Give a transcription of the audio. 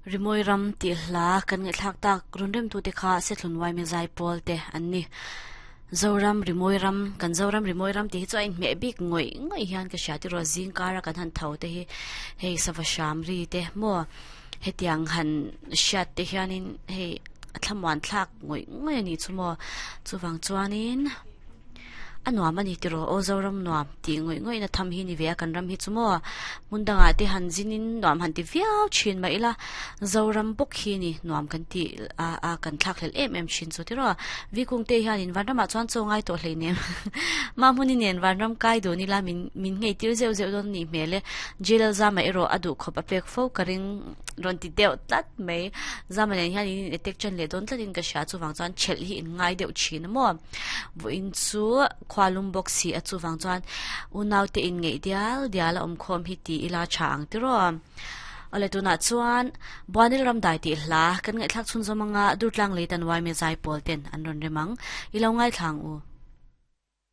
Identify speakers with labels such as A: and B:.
A: Rimawi ram tih hla kan ngaihthlak tak rawn remtute kha Sethlun Waime Zaipawl te an ni. Zoram Rimawi ram, kan Zoram Rimawi ram tih hi chu a inhmeh bik ngawih ngawih hian ka hria tiraw zing kara kan han tho te hi hei sava hram ri te maw hetiang han hriat te hianin hei a thlamuan thlak ngawih ngawih a nih chu maw chuvang chuanin A nuam a ni tiraw aw Zoram nuam tih ngawih ngawih na tham hi ni ve a kan ram hi chu maw hmun dangah te han zin in nuam han ti viau thin mah ila Zoram bawk hi ni nuam kan tih a a kan thlak hlelh em em thin chu tiraw Vikung te hian in vanramah chuan chaw ngai tawh hlei nem mah hmun i nen vanram kai dun ila min min ngei tir zeuh zeuh dawn a nih hmel e Jail zama erawh a duh khawp a pek fo ka ring rawn ti deuh tlat mai zama nen hian in in attack tan leh dawn tlat in ka hria chuvang chuan chelh hi in ngai deuh thin a maw. Vawiin chu khua lum bawk si a chuvang chuan unaute inngeih dial dial a awmkhawm hi ti ila tha ang tiraw. Awle tunah chuan Buanil Ramdai tih hla kan ngaihthlak chhunzawm anga Durtlang lei tan Waime Zaipawl ten an rawn rem ang. I lo ngaithla ang u.